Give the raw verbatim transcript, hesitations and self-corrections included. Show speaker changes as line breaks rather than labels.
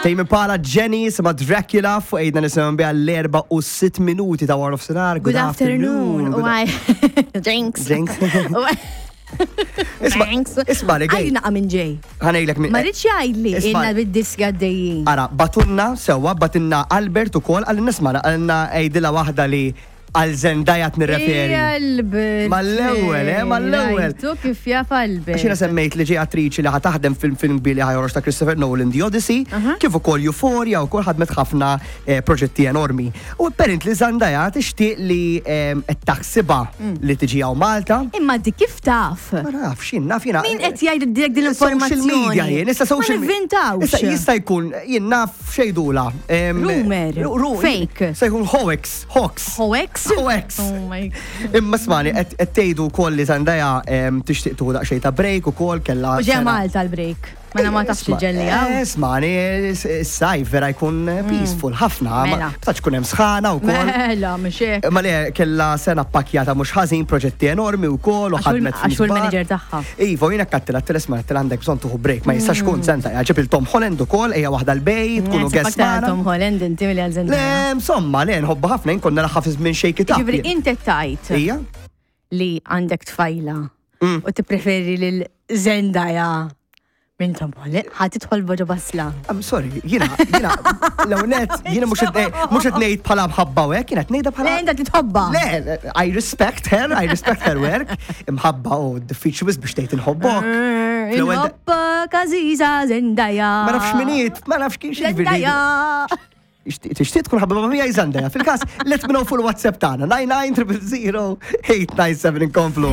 Tame Impala, Jenny, sema Dracula, fuq għidna nisimgħu biha l-erba u sitt minuti ta' wara nofsinhar.
Good afternoon.
Good
Why? Jinx.
Jinx. Isma,
Thanks.
isma li
Għajdi naqa minn ġej.
Ħa ngħidlek minn.
Ma rridx jgħidli
Isma.
inna bid-diski għaddejjin.
Ara, bagħtulna sewwa, bagħtilna Albert ukoll, għal nisma, għalna għidilha waħda li għal Zendaya nirreferi.
Albert.
Mal-ewwel, eh, mal-ewwel.
Rajtu kif jaf Albert.
Għax jiena semmejt li ġej attriċi li ħa taħdem film film kbir li ħa joħroġ ta' Christopher Nolan, The Odyssey, kif ukoll Euphoria u kol ħadmet ħafna eh, proġetti enormi. U apparently Zendaya tixtieq li ehm, qed taħsibha li tiġi hawn Malta.
Imma di kif taf?
Ma nafx, jien naf jiena.
Min qed jgħid dik din
Social
l-informazzjoni?
media jien, issa social
Ma nivvintawx.
Issa jista' jkun jien naf xejdula. Em,
Rumor,
ru- ru-
fake.
Se jkun hoax, hoax.
Hoax?
Hoax.
Oh my God.
Imma smani, qed tgħidu wkoll li Zendaya em, tixtieq tieħu daqsxejn ta' break ukoll kellha.
U ġeja
sena-
Malta l-break. Mela ma tafx
Isma'
ġelli għaw.
eh, Smani, s-sajf vera jkun peaceful ħafna. Ma
Mela.
tax kun hemm sħana wkoll.
Mela, mhux hekk.
Ma le kella sena pakjata mhux ħażin, proġetti enormi wkoll u
Għax hu-
ħadmet
għax hu l-manager tagħha.
Iva, jiena kattilha t-telesma għandek bżonn tieħu break, ma jistax kun Zendaya. Ġib il-Tom Holland ukoll, ejja waħda l-bejt, tkunu guest magħna.
Tom Holland inti milli għal
Le,
Zendaya.
insomma, le, nħobba ħafna, jien konna naħaf minn Shake It Up.
Ġifieri inti tajt
Ija?
li għandek tfajla
Mm.
u tippreferi lil Zendaya minn Tom Holland, ħa tidħol boġo basla.
I'm sorry, jiena, jiena, l-ewnet, jiena mhux mhux qed ngħid bħala mħabba u hekk, jiena qed ngħidha
Le,
bħala.
inta titħobba.
Le, I respect her, I respect her work. Imħabba u diffiċli wisq biex tgħid inħobbok. Fl-ewwel da-
Inħobbok għażiża Zendaya.
Ma nafx miniet, ma nafx kif
Zendaya.
Tixtieq tkun ħabba ma' Zendaya. Fil-każ, let me know fuq il-WhatsApp tagħna nine nine triple zero eight nine seven inkomplu.